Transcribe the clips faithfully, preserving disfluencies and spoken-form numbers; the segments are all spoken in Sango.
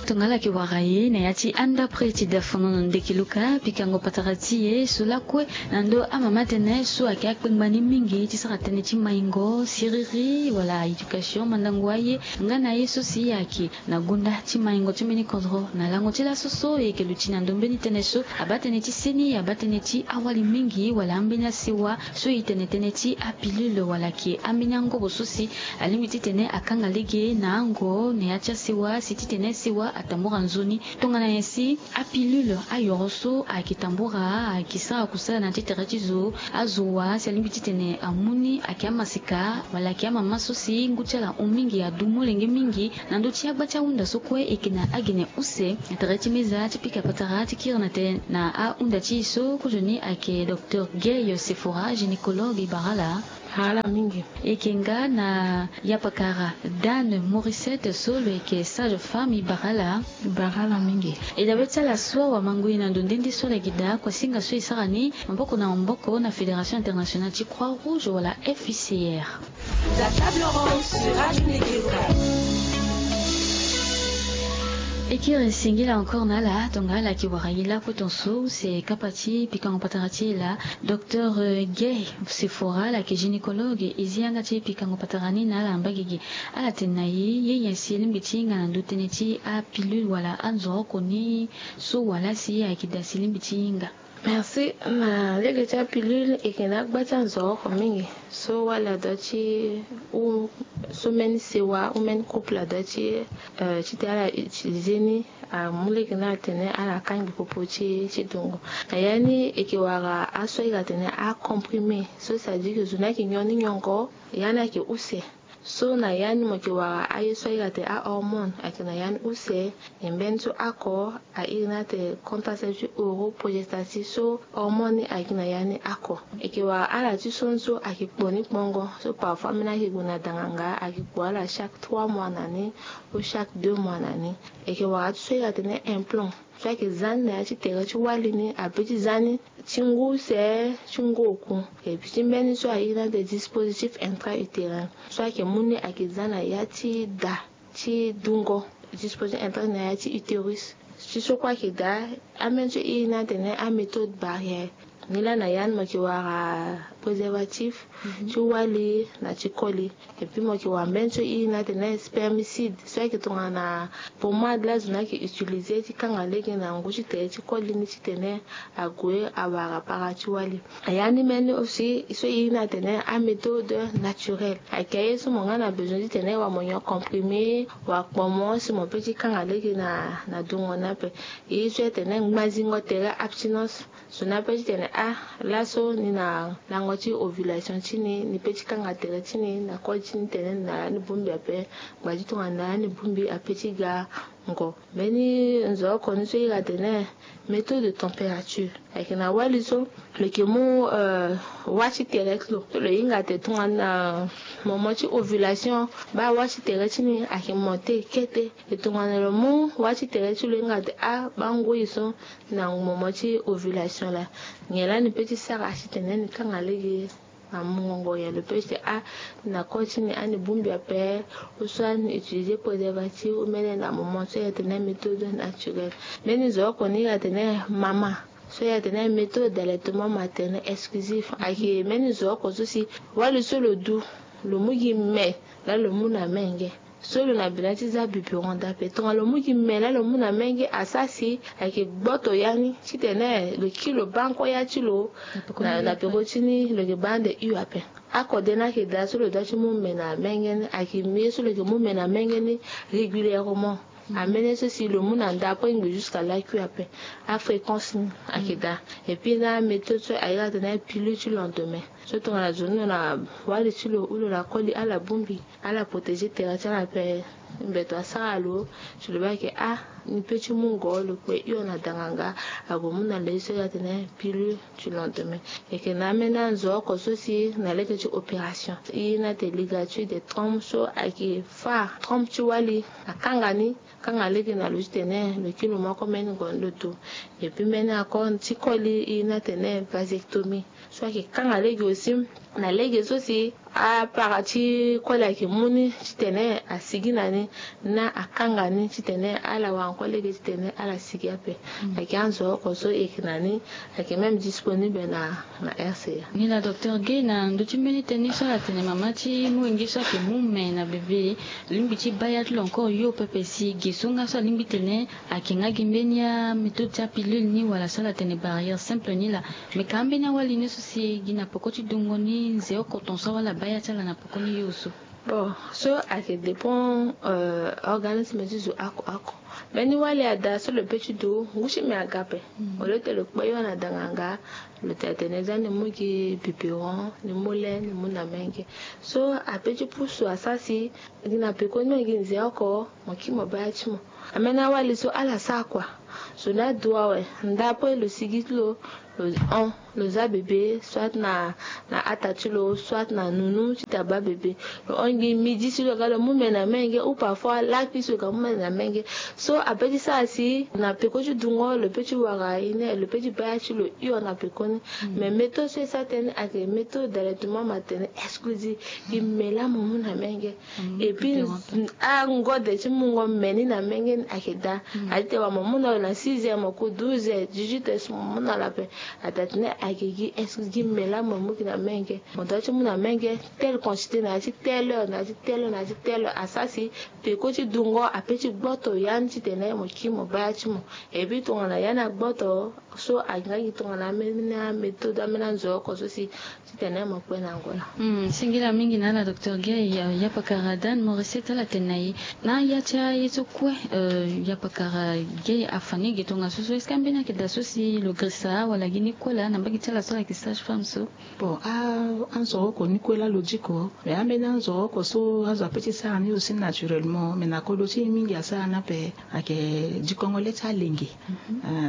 Tongana ala yeke wara e na ya ti andapre ti dafono na ndeke luka pikango patara ti e so lakue na ndö amama tënë so ayeke akpengba ni mingi ti sara tënë ti maingo siriri wala éducation mandango aye. Nga na ye so si ayeke na gonda ti maingo ti mbeni kodro na lango ti laso so e yeke luti na ndö mbeni tënë so abaa tënë ti seni abaa tënë ti awali mingi wala ambeni asewa so e tene tënë ti apilule wala ayeke ambeni angobo so si alingbi titene akanga lege na ango na ya ti asewa si titene sewa atambura nzoni. Tongana nyen si apilule ayoro so ayeke tambura ayeke sara kusala na ya ti tere ti zo azo wa si alingbi titene amu ni ayeke amaseka wala ayeke amama so si ngu ti ala hon mingi adu molenge mingi na ndö ti agba ti ahunda so kue e yeke na agene use na tere ti meza ti pika patara ti kiri na tene na ahunda ti e so kozoni ayeke docteur Gay Sephora, gynécologue, e bara ala. Ala mingi. E yeke nga na yapakara Dane Morissette so lo yeke sage femme, e bara ala. Bara ala mingi. E dabe ti ala so awamangui na ndo nde nde so ala yeke daa kuasinga so e sara ni maboko na maboko na Fédération Internationale ti Croix Rouge wala F I C R. La table ronde sur Radio Negeruka. E kiri singila encore na ala tongana ala yeke wara e lakue tonso use kapa ti pikango patara ti e laa. Docteur Gay Sephora, ala yeke gynécologue, e zi yanga ti pikango patara ni na ala mbagege. Ala tene na e ye nyen si e lingbi ti hinga na ndö tënë ti apilule wala anzoroko ni so wala si ayeke daa si e lingbi ti hinga? Merci. Na lege ti apilule e yeke na agba ti anzoroko mingi so wali adoit ti u so mbeni sewa ou mbeni couple adoit ti, euh, titene ala utiliser ni, amu lege ni atene ala kangbi popo ti, ti dungo. Na ya ni e yeke wara aso ayeke atene acomprimé so, c'est-à-dire que zo ni ayeke nyon ni nyongo, ya ni ayeke use. So na ya ni mo yeke wara aye so ayeke atene ahormone ayeke na ya ni use. E mbeni so oko a iri ni atene contraceptif oro progestatif so hormone ni ayeke na ya ni oko. E yeke wara ala ti so ni so ayeke kpo ni kpongo so parfois ambeni ayeke gue na danganga ayeke kpo ala chaque trois mois na ni ou chaque deux mois na ni. E yeke wara ti so ayeke atene implant so ayeke za ni na ya ti tere ti wali ni ape ti za ni ti ngu use ti ngu oku. E pi ti mbeni so a iri ni atene dispositif intra-utérin so ayeke mu ni ayeke za na ya ti da ti dungo, dispositif intra na ya ti utérus. Ti so kue ayeke daa, ambeni so e iri ni atene améthode barrière. Ni laa na ya ni mo yeke wara préservatif ti wali na ti koli. Et puis mo yeke wara mbeni so e iri ni atene spermicide so ayeke tongana pommade laa zo ni ayeke utiliser ti kanga lege na ngu ti tere ti koli ni titene ague awara para ti wali. A ya ni mbeni aussi so e iri ni atene améthode naturelle. Ayeke aye so mo nga na besoin titene wala mo nyon comprimé wala kpomo si mo peut ti kanga lege na, na dungo ni ape. E ye so e tene ngbazingo tere, abstinence. Zo ni ape ti tene ah, laso ni na lango ti ovulation ti ni, ni peut ti kanga tere ti ni na koli ti ni tene ni na ya ni bongbi ape. Ngba ti tongana ni na ya ni bongbi ape ti ga ngo. Mbeni nzoroko ni so e iri atene méthode de température. Ayeke na wali so lo yeke mu, euh, wâ ti tere ti lo. So lo hinga atene tongana, euh, moment ti ovulation, baa wâ ti tere ti ni ayeke monté kete. E tongana lo mu wâ ti tere ti lo hinga atene ah, baa ngoi so na moment ti ovulation laa. Nyen laa ni peut ti sara titene ni kanga lege na mungo ngongo? Nyen lo peut ti tene ah, na koli ti ni ah, ni bongbi ape, ou soit ni utiliser préservatif ou mbeni na moment so e atene méthode naturelle. Mbeni nzoroko ni e atene mama so e atene méthode d'allaitement maternel exclusif. Ayeke mbeni nzoroko so si wali so lo du, lo mu gi me laa lo mu na menge. So lo na besoin ti za biberon dape. Tongana lo mu gi me laa lo mu na menge, asara si ayeke gboto ya ni titene lo kiri lo baa oko ya ti lo na, na peko ti ni, lo yeke baa ande hu ape. Akode ni ayeke daa so lo doit ti mu me na menge ni, ayeke ye so lo yeke mu me na menge ni régulièrement. Ambeni ye so si lo mu na nda après ngbi jusqu'à l'A Q ape. Afréquence ni ayeke daa. Et puis na méthode so a iri atene pilule ti lendemain. So tongana zo ni lo na wali ti lo ou lo na koli, ala bongbi, ala protéger tere ti ala ape. Mbeto asara lo, si lo baa ayeke ah, ni peut ti mu ngo, lo kpe hio na danganga, ague mu na lo ye so e iri atene pilule du lendemain. E yeke na ambeni anzoroko so si na lege ti opération, e iri ni atene ligature des trompes, so ayeke fâ trompe ti wali, akanga ni, kanga lege na lo titene lo kiri lo mu oko mbeni ngo ni lo du. Et puis mbeni encore ti koli, e iri ni atene vasectomie. So ayeke kanga lege aussi na lege so si apara ti koli ayeke mu ni titene asigi na ni, na akanga ni titene ala wara Kue lege titene ala sigi ape. Ayeke anzoro oko so e yeke na ni, ayeke même disponible na na rca. Nilaa docteur Guèye, na ndö ti mbeni tënë so ala tene mama ti molenge so ayeke mu me na bebe, lingbi ti baya ti lo encore yo pepe si ge so nga so alingbi tene ayeke nga gi mbeni améthode ti apilule ni wala so ala tene barrière simple ni laa. Me ka ambeni awali ni so si gi na peko ti dungo ni nze oko ton so awali abaya ti ala na peko ni yo so. Bon, so ayeke dépend organisme ti zo oko oko. Mbeni wali ada so lo pe ti du ngu ti me aga ape. Au lieu ti lo kpe yo na danganga, lo tene tene za ni mu gi biberon, ni mu le, ni mu na menge. So ape ti pusu asara si gi na pekoni mo gi nze oko, mo kiri mo baya ti mo. Ambeni awali so ala sara kua. Zo ni adu awe, nda ape lo sigi ti lo, lo hon, lo za bebe soit na na ata ti lo, soit na nunu ti taba bebe. Lo hon gi midi si lo ga lo mu me na menge ou parfois lakui si lo ga mu me na menge. So ape ti sara si na peko ti dungo lo pe ti wara ine, lo pe ti baya ti lo hio na pekoni. Mais méthode so e sara tënë ayeke méthode d'allaitement maternel exclusif. Gi me laa mo mu na menge. Et puis angode ti mungo me ni na menge ni ayeke daa. Adi te wa mo mu na lo na six heures, mo ku douze heures, dix-huit heures so mo mu na lo ape. Ada tene ayeke gi excuse gi me laa mo mu gi na menge. Mo doit ti mu na menge telle quantité na ya ti telle heure, na ya ti telle heure, na ya ti telle heure. Asara si peko ti dungo ape ti gboto ya ni titene mo kiri mo baya ti mo. Et puis tongana ya ni agboto so ayeke nga gi tongana ambeni améthode, ambeni anzoro oko so si titene mo kpe na ngoi laa. Singila mingi na ala docteur Guèye. Yapakara Dan Maurice ti ala tene na e na ya ti aye so kue. Yapakara Guèye, afa ni ge tongaso so est-ce que ambeni ayeke daa so si lo girisa wala gi ni kue laa na mbage ti ala so ayeke sage-femme so? Bon, anzoro oko ni kue laa lo diko. Mais ambeni anzoro oko so azo ape ti sara ni aussi naturellement, mais na kodro ti e mingi asara ni ape. Ayeke dikongo le ti alenge.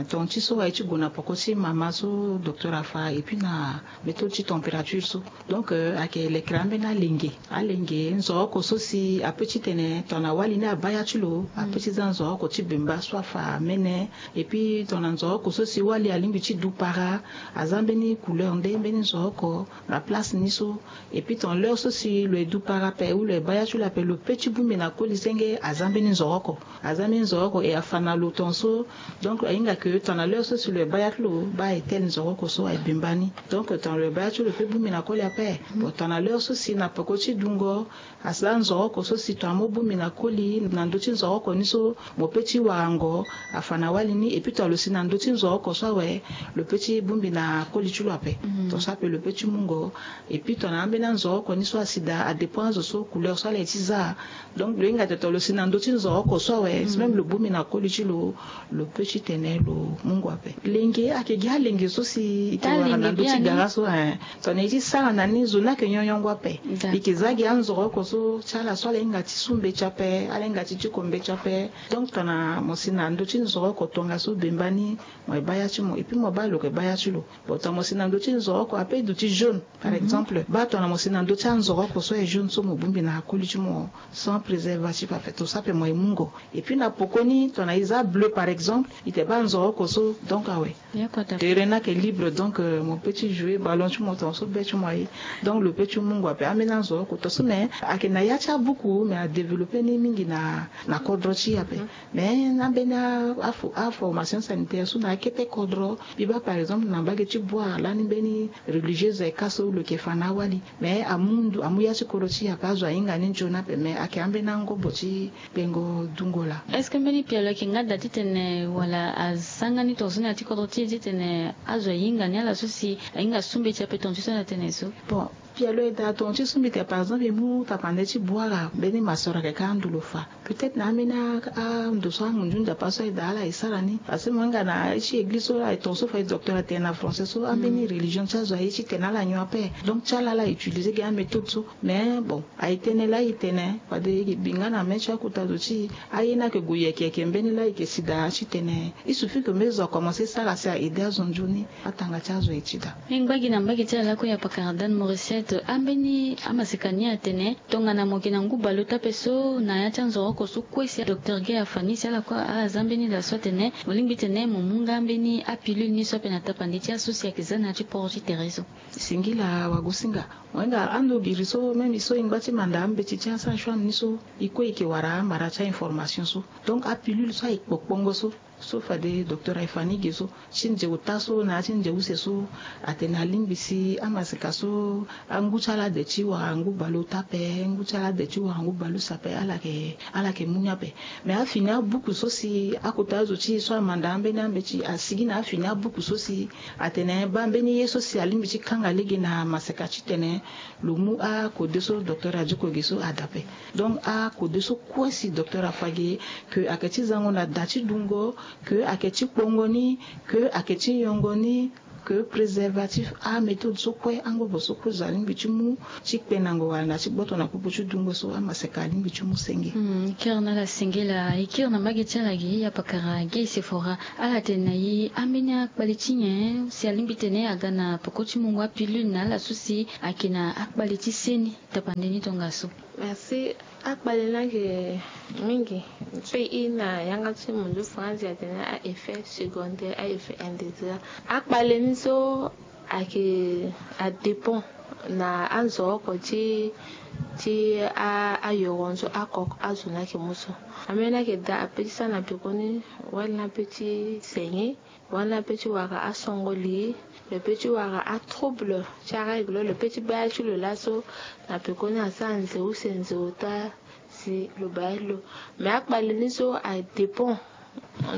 Ton ti so aye ti gue na poko ti mama so docteur afa et puis na méthode ti température so. Donc ayeke lekere ambeni alenge. Alenge nzoro oko so si ape ti tene tongana wali ni abaya ti lo ape ti za nzoro oko ti bemba so afa mene. Et puis tongana nzoro oko so si wali alingbi ti du para, aza mbeni couleur nde mbeni nzoro oko na place ni so. Et puis tongana l'heure so si lo ye du para ape ou lo ye baya ti lo ape, lo pe ti bongbi na koli senge aza mbeni nzoro oko. Aza mbeni nzoro oko e afa na lo ton so. Donc ahinga ke tongana l'heure so si lo ye baya ti lo baa e tele nzoro oko so aye bemba ni. Donc tongana lo ye baya ti lo pe bongbi na koli ape. Bon, tongana l'heure so si na peko ti dungo, asara nzoro oko so si tongana mo bongbi na koli na ndö ti nzoro oko ni so mo pe ti warango, afa na wali ni. Et puis tongana lo si na ndö ti nzoro oko so awe, lo pe ti bongbi na koli ti lo ape. Ton so ape lo pe ti mungo. Et puis tongana ambeni anzoro oko ni so asi daa, adépend azo so couleur so ala ye ti za. Donc lo hinga tene tongana lo si na ndö ti nzoro oko so awe, si même lo bongbi na koli ti lo, lo pe ti tene lo mungo ape. Lenge ayeke gi alenge so si e ke wara na ndö ti gara so, eh. Tongana e ti sara na ni, zo ni ayeke nyonyongo ape. E ke za gi anzoro oko so ti ala so ala hinga ti su mbeti ape, ala hinga ti diko mbeti ape. Donc tongana mo si na ndö ti nzoro oko tongaso bemba ni, mo ye baa ya ti mo et puis mo baa lo yeke baa ya ti lo. Bon, tongana mo si na ndö ti nzoro oko ape e duti jaune par exemple, baa tongana mo si na ndö ti anzoro oko so aye jaune so mo bongbi na akoli ti mo sans préservatif ape, ton so ape mo ye mungo. Et puis na poko ni tongana e za bleu par exemple, e te baa nzoro oko so, donc awe. Terrain ni ayeke libre, donc mo pe ti jouer ballon ti mo ton so be ti mo aye. Donc lo pe ti mungo ape ambeni anzoro oko ton so, mais ayeke na ya ti abuku, mais adévelopper ni mingi na na kodro ti e ape. Mais na mbeni a a formation sanitaire so na akete kodro, mbi baa par exemple na mbage ti Bouar lani mbeni religieuse aye ka so lo yeke fa na awali. Mais amu ndu amu ya ti kodro ti e ape, azo ahinga ni nzoni ape, mais ayeke ambeni angobo ti kpengo dungo laa. Est-ce que mbeni pialo ayeke nga daa titene wala asanga ni tongaso ni na ya ti kodro ti e titene azo ahinga ni ala so si ahinga su mbeti ape ton ti so na tene so? Bon, pialo e daa ton ti so mbi tene par exemple e mu tapande ti Bouar, mbeni ma sœur ayeke ka ando lo fa. Peut-être na ambeni ando so angunzu nzapa so aye daa ala e sara ni. Parce que mo hinga na ya ti église so aye ton so fa e docteur atene na français so ambeni religion ti azo aye titene ala nyon ape. Donc ti ala ala utiliser gi améthode so. Mais bon, aye tënë laa e tene fade e bi nga na mê ti akota zo ti e, aye ni ayeke gue yeke yeke mbeni laa e yeke si daa titene il suffit que mbeni zo akomencer sara si a aider azo nzoni. Atanga ti azo aye ti daa. Mbi ngba gi na mbage ti ala lakue ya pakara Dan Maurice. Ambeni amaseka ni atene tongana mo yeke na ngu baleota ape so na ya ti anzoro Oko so kue si docteur Guy afa ni si ala kue aza mbeni daa so atene mo lingbi tene mo mu nga mbeni apilule ni so ape na tapande ti aso si ayeke za na ya ti poro ti tere so. Singila wagosinga. Mo hinga ando giri so même so e ngba ti manda ambeti ti asage-femme ni so e kue e yeke wara amara ti a-information so. Donc apilule so aye kpokpongo so so fade docteur aye fa ni ge so ti nze ota so na ya ti nze use so atene alingbi si amaseka so angu ti ala de ti wara ngu baleota ape, ngu ti ala de ti wara ngu baleuse ape, ala yeke ala yeke mu ni ape. Mais afini abuku so si akota azo ti e so amanda ambeni ambeti asigi na afini abuku so si atene baa mbeni ye so si alingbi ti kanga lege na maseka titene lo mu akode so docteur adi koge so adape. Donc akode so kue si docteur afa ge, que ayeke ti zango na da ti dungo, que ayeke ti kpongo ni, que ayeke ti nyongo ni, que préservatif, améthode so kue angobo so kue zo alingbi ti mu ti kpenango wala na ti gboto na popo ti dungo so amaseka alingbi ti mu senge. Hmm, e kiri na ala senge laa, e kiri na mbage ti ala ge, ya pakara Guy Sephora. Ala tene na e ambeni akpale ti nyen si alingbi tene aga na peko ti mungo apilule na ala so si ayeke na akpale ti se ni tapande ni tongaso. Merci. Akpale ni ayeke mingi. So e na yanga ti munzu France atene a-effet secondaire, a-effet indésirable. Akpale ni so ayeke adépend na anzo oko ti ti a- ayoro ni so oko azo ni ayeke mu so. Ambeni ayeke daa ape ti sara na pekoni wali ni ape ti senge. Wala lo pe ti wara asongo li, lo pe ti wara atrouble ti arègle, lo pe ti baa ya ti lo laso na pekoni asara nze use nze ota si lo baa ya ti lo. Mais akpale ni so adépend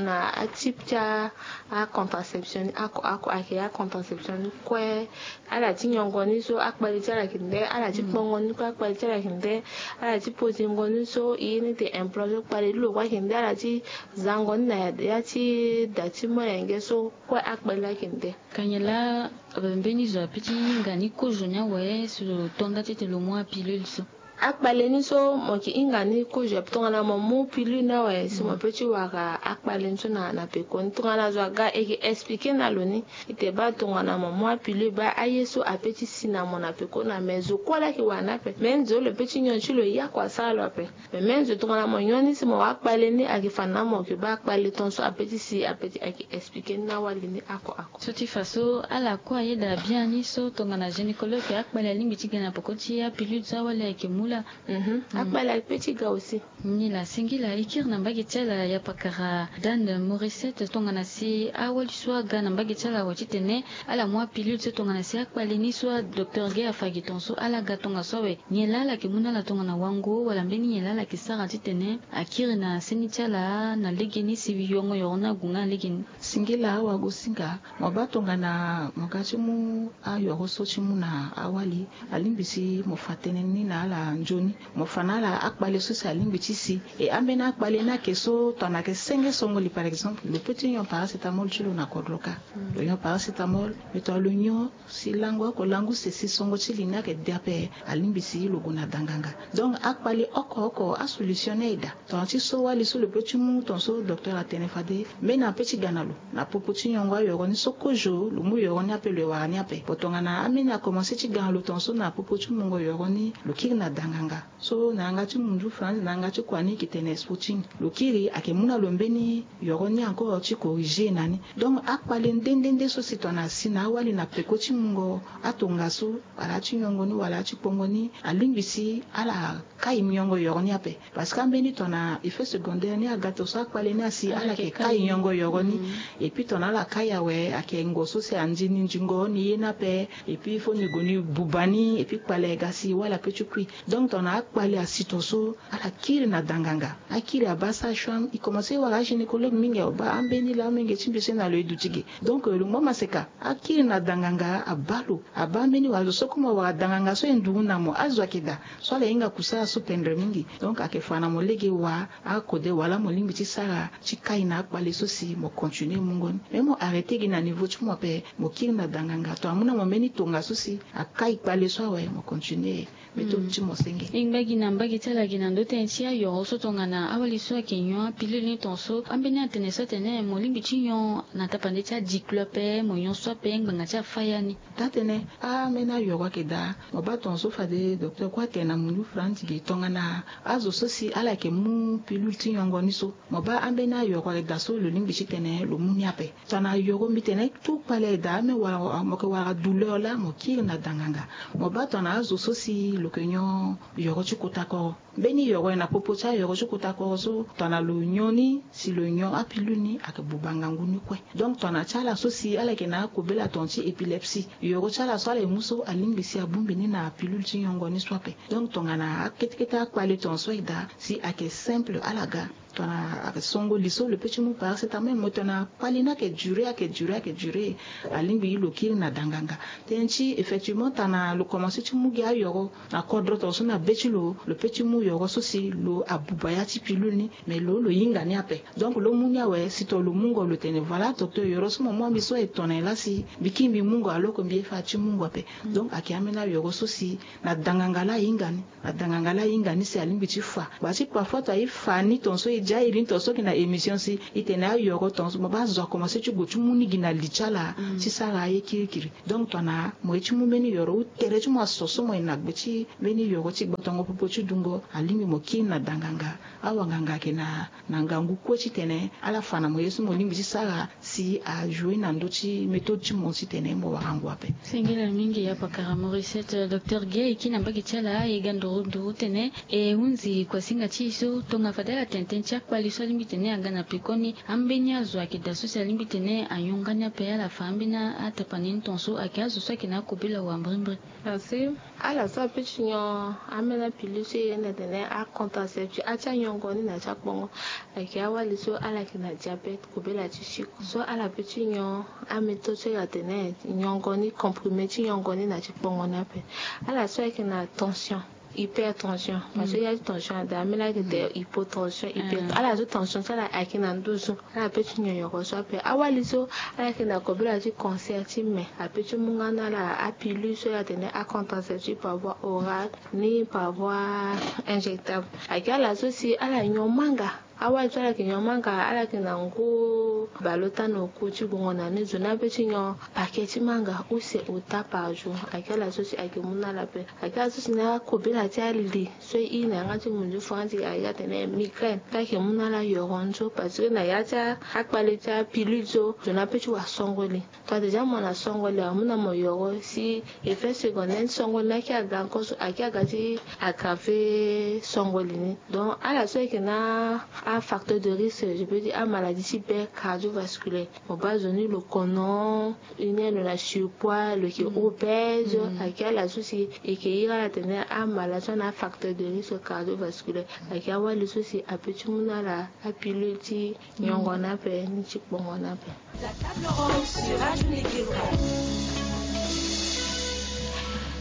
na atype ti a- acontraception ni oko oko ayeke acontraception ni kue. Ala ti nyongo ni so akpale ti ala yeke nde, ala ti kpongo ni kue akpale ti ala yeke nde, ala ti pozingo ni so ye ni te implant so kpale ti lo kue ayeke nde, ala ti zango ni na ya ti da ti molenge so kue akpale ayeke nde. Ka nyen laa mbeni zo ape ti hinga ni kozo ni awe si lo to nda ti tene lo mu apilule so? Akpale ni so mo yeke hinga ni kozo ape tongana mo mu pilule ni awe si mo pe ti wara akpale ni so na na peko ni tongana zo aga e yeke explike na lo ni. E te baa tongana mo mu apilule baa aye so ape ti si na mo na peko na me zo kue laa ayeke wara ni ape me nze lo pe ti nyon ti lo ye oko asara lo ape. Me me nze tongana mo nyon ni si mo wara akpale ni ayeke fa na mo yeke baa akpale tongaso ape ti si ape ti ayeke explike ni na wali ni oko oko. So ti fa so ala kue ayeda biani so tongana gynécologue akpale alingbi ti ga na peko ti apilule so awali ayeke mu laa. Akpale ape ti ga aussi. Ni laa singila e kiri na mbage ti ala ya pakara Dane Morissette tongana si awali so aga na mbage ti ala awe titene ala mu apilule so tongana si akpale ni so adocteur ge afa gi tongaso ala ga tongaso awe. Nyen laa ala yeke mu na ala tongana wango wala mbeni nyen laa ala yeke sara titene akiri na seni ti ala na legeni si yongo yoro ni ague nga na legeni? Singila awagosinga. Mo baa tongana mo ga ti mu ayoro so ti mu na awali alingbi si mo fa tënë ni na ala nzoni. Mo fa na ala akpale so si alingbi ti si. E ambeni akpale ni ayeke so tongana ayeke senge songo li par exemple lo pe ti nyon paracétamol ti lo na kodro kâ. Lo nyon paracétamol. Mais tongana lo nyon si lango oko lango use si songo ti li ni ayeke de ape alingbi si lo gue na danganga. Donc akpale oko oko asolution ni aye daa. Tongana ti so wali so lo pe ti mu tongaso docteur atene fade mbeni ape ti ga na lo na popo ti nyongo ayoro ni so kozo lo mu yoro ni ape lo ye wara ni ape. Bon tongana ambeni akomanse ti ga na lo tongaso na popo ti mungo yoro ni lo kiri na danganga. So na yanga ti munzu France na yanga ti kua ni e yeke tene spotting. Lo kiri ayeke mu na lo mbeni yoro ni encore ti corriger na ni. Donc akpale nde nde nde so si tongana asi na awali na peko ti mungo atongaso wala ati nyongo ni wala ati kpongo ni alingbi si ala kai miongo yoro ni ape. Parce que ambeni tongana effet secondaire ni aga tongaso akpale ni asi ala yeke kai miongo yoro ni. Et puis tongana ala kai awe ayeke ngo so si anzi ni nzingo ni ye ni ape. Et puis il faut ni gue ni buba ni et puis kpale ga si wala pe ti kui. Donc tongana akpale asi tongaso ala kiri na danganga. Akiri abaa sage-femme e commence wara agynécologue mingi awe baa ambeni laa amenge ti mbi so na lo e duti ge. Donc lo mu amaseka akiri na danganga abaa lo. Abaa mbeni wala zo so koma wara danganga so e nduru na mo azo ayeke daa. So ala hinga kusala so pendre mingi. Donc ayeke fa na mo lege wa akode wala mo lingbi ti sara ti kai na akpale so si mo continue mungo ni. Mais mo arrêter gi na niveau ti mo ape mo kiri na danganga to amu na mo mbeni tongaso si akai kpale so awe mo continue. Méthode ti mo. E ngba gi na mbage ti ala gi na ndö tënë ti ayoro so tongana awali so ayeke nyon apilule ni tongaso ambeni atene so atene mo lingbi ti nyon na tapande ti adiklo ape, mo nyon so ape ngbanga ti afaya ni. Taa-tënë, ambeni ayoro ayeke daa. Mo baa tongaso fade docteur kue atene na mundu franti gi tongana azo so si ala yeke mu pilule ti nyongo ni so, mo baa ambeni ayoro ayeke daa so lo lingbi ti tene lo mu ni ape. Tongana yoro mbi tene tout kpale ayeke daa, ame wala mo yeke wara douleur laa mo kiri na danganga. Mo baa tongana azo so si lo yeke nyon yoro ti kota koro. Mbeni yoro na popo ti ayoro ti kota koro so tongana lo nyon ni, si lo nyon apilule ni ayeke buba ngangu ni kue. Donc tongana ti ala so si ala yeke na akobela tongana ti épilepsie, yoro ti ala so ala yeke mu so alingbi si abongbi ni na pilule ti nyongo ni so ape. Donc tongana akete kete akpale tongaso ayeke daa, si ayeke simple ala ga. Tongana ayeke songo li so lo peut ti mu paracétamol, mo tongana kpale ni ayeke dure, ayeke dure, ayeke dure, alingbi lo kiri na danganga. Tënë ti effectivement tongana lo komanse ti mu gi ayoro na kodro tongaso na be ti lo, lo peut ti mu yoro so si lo abuba ya ti pilule ni, mais lo lo hinga ni ape. Donc lo mu ni awe, si to lo mungo lo tene voilà docteur, yoro so mo mu ambi so e to na nyen laa si mbi kiri mbi mungo, alors que mbi ye fa ti mungo ape. Donc ayeke ambeni ayoro so si na danganga laa ahinga ni. Adanganga laa ahinga ni si alingbi ti fa. Bati parfois to aye fa ni tongaso e dia iri ni tongaso gi na émission si e tene ayoro tongaso mo baa azo akomanse ti gue ti mu ni gi na li ti ala ti sara aye kirikiri. Donc tongana mo ye ti mu mbeni yoro ou tere ti mo aso so mo ye na gbe ti mbeni yoro ti gbotongo popo ti dungo, alingbi mo kiri na danganga. Awanganga ayeke na na ngangu kue titene ala fa na mo ye so mo lingbi ti sara si ajoue na ndö ti méthode ti mo titene mo wara ngu ape. Singila mingi ya pakara Maurice, docteur Guèye e kiri na mbage ti ala e ga nduru nduru tene e hunzi kuasinga ti e so tonga fade ala tene tënë ti akpali so alingbi tene aga na pekoni. Ambeni azo ayeke daa so si alingbi tene anyonga ni ape ala fa ambeni atapani ni tongaso ayeke azo so ayeke na akobela wambrimbri. Merci. Ala so ape ti nyon ambeni apilule so e yeda tene acontraceptif, atia nyongo ni na ti akpongo. Ayeke awali so ala yeke na diabète, kobela ti sucre so ala peut ti nyon améthode so e ga tene nyongo ni, comprimé ti nyongo ni na ti kpongo ni ape. Ala so ayeke na tension, hypertension, parce que ya ti tension ada ambeni ayeke tene hypotension, hyper ala so tension ti ala ayeke na nduzu. Ala peut ti nyon yoro so ape. Awali so ala yeke na kobela ti cancer ti me, apeut ti mu nga na ala apilule so e ga tene acontraceptif par voie orale ni par voie injectable. Ayeke ala so si ala nyon manga. Awali so ala yeke nyon manga, ala yeke na ngu baleota na oku ti gongo na ni, zo ni apeut ti nyon paquet ti manga use ota par jour. Ayeke ala so si ayeke mu na ala ape. Ayeke ala so si na akobela ti ali so e iri na yanga ti munzu franzi ayeke atene migraine. Ka ayeke mu na ala yoro nzo parce que na ya ti akpale ti apilule so, zo ni apeut ti wa songo li. Tongana déjà mo na songo li amu na mo yoro si effet secondaire ti songo li ni ayeke aga encore so, ayeke aga ti aggraver songo li ni. Donc ala so ayeke na afacteur de risque, je peux dire amaladie ti be cardiovasculaire. Mo baa zo ni lo kono, i ni lo na surpoids, lo yeke obèse. Ayeke ala so si e yeke iri ala tene amala so ana afacteur de risque cardiovasculaire. Ayeke awali so si apeut ti mu na ala apilule ti nyongo ni ape ni ti kpongo ni ape.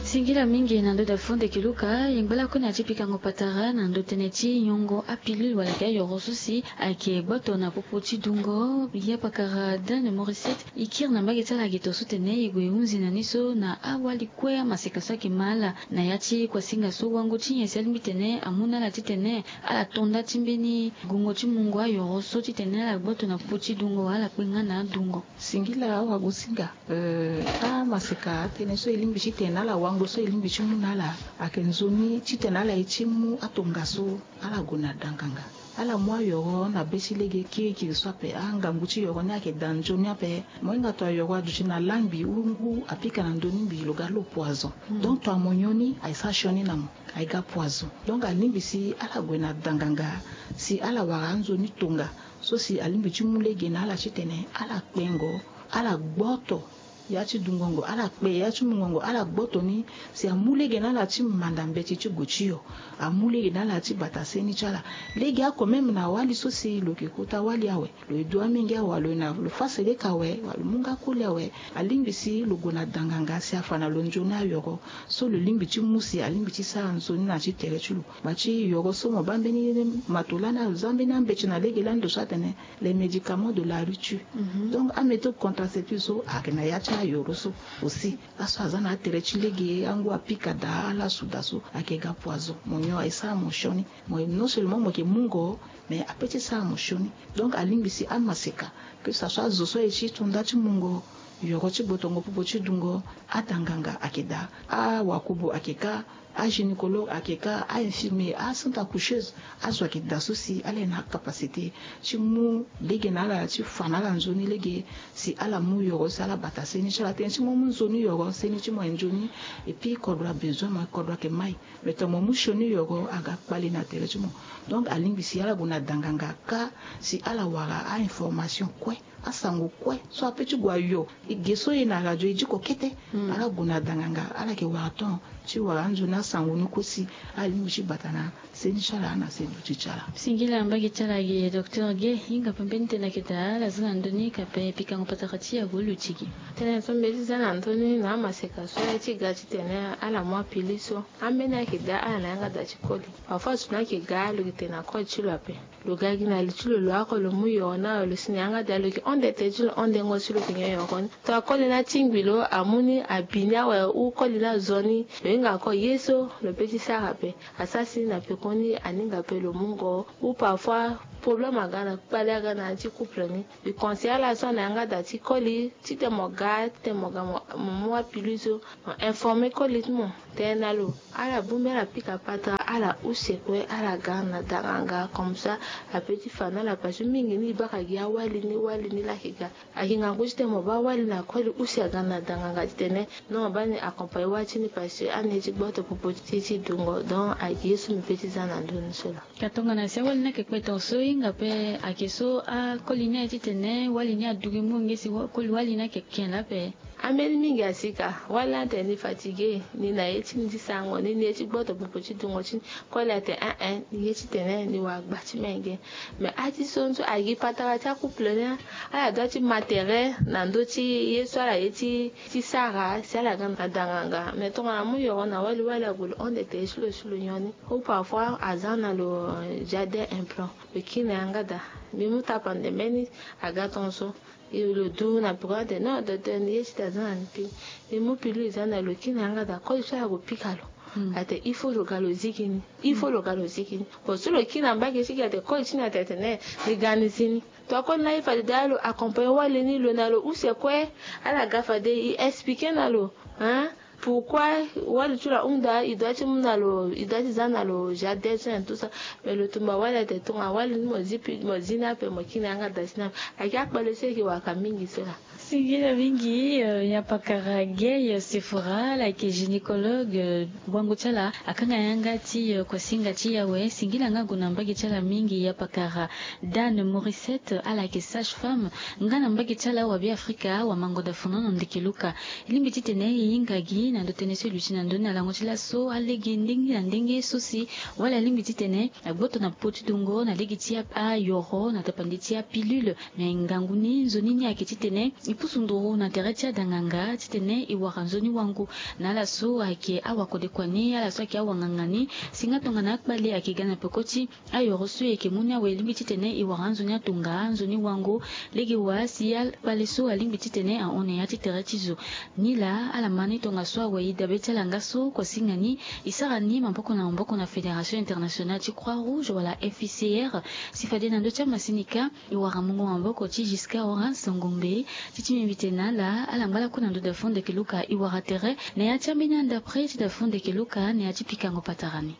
Singila mingi na ndö da fo ndeke Luka. E ngba lakue na ya ti pikango patara na ndö tënë ti nyongo apilule wala ayeke ayoro so si ayeke gboto na popo ti dungo. Ya pakara Dane Maurice, e kiri na mbage ti ala gi to so tene e gue hunzi na ni so na awali kue amaseka so ayeke ma ala na ya ti kuasinga so wango ti nyen si alingbi tene amu na ala titene ala to nda ti mbeni gongo ti mungo ayoro so titene ala gboto na popo ti dungo wala ala kpe nga na adungo. Singila awagosinga. Euh, amaseka atënë so e lingbi titene ala wango so e lingbi ti mu na ala ayeke nzoni titene ala ye ti mu atongaso ala gue na danganga. Ala mu ayoro na be ti lege kirikiri so ape. Angangu ti yoro ni ayeke daa nzoni ape. Mo hinga to ayoro aduti na langbi ou ngu apika na ndö ni mbi lo ga lo poison. Donc to amo nyon ni aye sara sioni na mo, aye ga poison. Donc alingbi si ala gue na danganga si ala wara anzoni tonga so si alingbi ti mu lege na ala titene ala kpengo, ala gboto ya ti dungongo, ala kpe ya ti mungongo, ala gboto ni si amu lege na ala ti manda mbeti ti gue ti yo, amu lege na ala ti bata seni ti ala. Lege oko même na wali so si lo yeke kota wali awe, lo ye du amenge awe, lo ye na lo fa seleka awe, wala lo mu nga koli awe, alingbi si lo gue na danganga si afa na lo nzoni ayoro so lo lingbi ti mu si alingbi ti sara nzoni na ti tere ti lo. Bati yoro so mo baa mbeni mato lani aza mbeni ambeti na lege lani ndo so atene les médicaments de la rupture. Donc améthode contraceptive so ayeke na ya ti ayoro so aussi. Aso aza na atere ti lege angu apika daa ala suda so ayeke ga poison mo nyon aye sara mo sioni. Mo non seulement mo yeke mungo mais ape ti sara mo sioni. Donc alingbi si amaseka ke sa so azo so aye ti to nda ti mungo yoro ti gbotongo popo ti dungo. Ata nganga ayeke daa, awakubo ayeke ka, agynécologue ayeke ka, ainfirmier, acentre accoucheuse, azo ayeke daa so si ala ye na acapacité ti mu lege na ala ti fa na ala nzoni lege si ala mu yoro si ala bata seni ti ala tënë ti mo mu nzoni yoro seni ti mo aye nzoni. Epui kodro abezoin mo kodro ayeke mai. Mais to mo mu sioni yoro aga kpali na tere ti mo. Donc alingbi si ala gue na danganga ka si ala wara ainformation kue, asango kue so ape ti gue ayo. E ge so e na radio e diko kete. Ala gue na danganga ala yeke wara ton ti wara anzoni asango ni kue si alingbi ti bata na seni ti ala na seni ti ala. Singila mbage ti ala ge docteur ge hinga pembeni tena keta ala za na ndoni kape pikango patara ti ya golu tigi. Tene so mbeti za na ndoni na amaseka so aye ti ga titene ala mu apili so. Ambeni ayeke daa ala na yanga daa ti koli. Parfois so na ayeke gaa lo yeke tene na koli ti lo ape. Lo ga gi na li ti lo lo ako lo mu yoro na lo si na yanga daa lo yeke honde te ti lo hondengo si lo yeke nyon yoro ni. To akoli ni atingbi lo amu ni abi ni awe ou koli ni azo ni. Lo hinga ako ye so lo pe ti sara ape. Asara si na pekoni aninga ape lo mungo ou parfois problème aga na kpali aga na ya ti couple ni. Lo conseil ala so na yanga daa ti koli titene mo ga titene mo ga mo mu apili so. Mo informe koli ti mo tene na lo ala bongbi ala pika patara ala use kue ala ga na danganga comme ça. Ape ti fa na ala parce que mingi ni e baka gi awali ni wali ni laki ga. Ayeke ngangu titene mo baa wali na koli use aga na danganga titene non mo baa ni accompagne wali ti ni parce que ani ye ti gboto popo ti ti dungo donc ayeke ye so mbi pe ti za na ndö ni so laa. Ka tongana si awali ni ayeke kpe tonga so e hinga ape ayeke so akoli ni aye titene wali ni adugi mu nge si koli wali ni ayeke ken laa ape. Ambeni mingi asika wali ni atene ni fatigue ni na ye ti ni ti sango ni ni ye ti gboto popo ti dungo ti ni. Koli atene en en ni ye titene ni wara gba ti menge. Mais ati so nso agi patara ti akouple ni ala doit ti ma tere na ndö ti ye so ala ye ti ti sara si ala ga na danganga mais tongana mu yoro na wali wali ague lo honde tere ti lo si lo nyon ni. Ou parfois aza na lo jardin implant lo kiri na yanga daa. Mbi mu tapande mbeni aga tonso. Lo du na peko ate non docteur ni ye ti da za na ni pili. Mbi mu pili lo za na lo kiri na yanga daa koli so ala gue pika lo. Ate il faut lo ga lo zigi ni. Il faut lo ga lo zigi ni. Bon so lo kiri na mbage ti gi ate koli ti ni ate tene ni ga ni zi ni. To akoli ni aye fade daa lo accompagne wali ni lo na lo use kue. Ala ga fade e expliquer na lo hein. Pourquoi wali ti lo ahunda e doit ti mu na lo e doit ti za na lo jardin so na tout ça. Mais lo tumba wali ate tonga wali ni mo zi pi mo zi ni ape mo kiri na yanga daa ti ni ape. Ayeke akpale so e yeke waka mingi so laa. Singila mingi. Ya pakara gay sefora ala yeke gynécologue. Wango ti ala akanga yanga ti kosinga ti yawe singila nga gue na mbage ti ala mingi ya pakara. Dane morisset ala yeke sage femme nga na mbage ti ala wa be afrika wa mango da fono na ndeke luka. E lingbi titene e hinga gi na ndo tënë so e luti na ndö ni na lango ti laso alege ndenge na ndenge so si wala alingbi titene agboto na popo ti dongo na lege ti ayoro na tapande ti apilule. Me ngangu ni nzoni ni ayeke titene e pusu nduru na tere ti adanganga titene e wara nzoni wangu. Na ala so ayeke awakodekua ni ala so ayeke awanganga ni si nga tongana akpale ayeke ga na peko ti ayoro so e yeke mu ni awe e lingbi titene e wara anzoni atonga anzoni wango. Lege wa si akpale so alingbi titene ahon na ya ti tere ti zo. Nilaa ala ma ni tongaso awe e dabe ti ala nga so kosinga ni e sara ni maboko na maboko na fédération internationale ti croix rouge wala f i c r. Si fade na ndö ti amasini kâ e wara mungo maboko ti jusqu'à horace ngombe ti ti mbi mbi tene na ala ala ngba lakue na ndö da fondeke luka e wara tere na ya ti ambeni andapre ti da fondeke luka na ya ti pikango patara ni.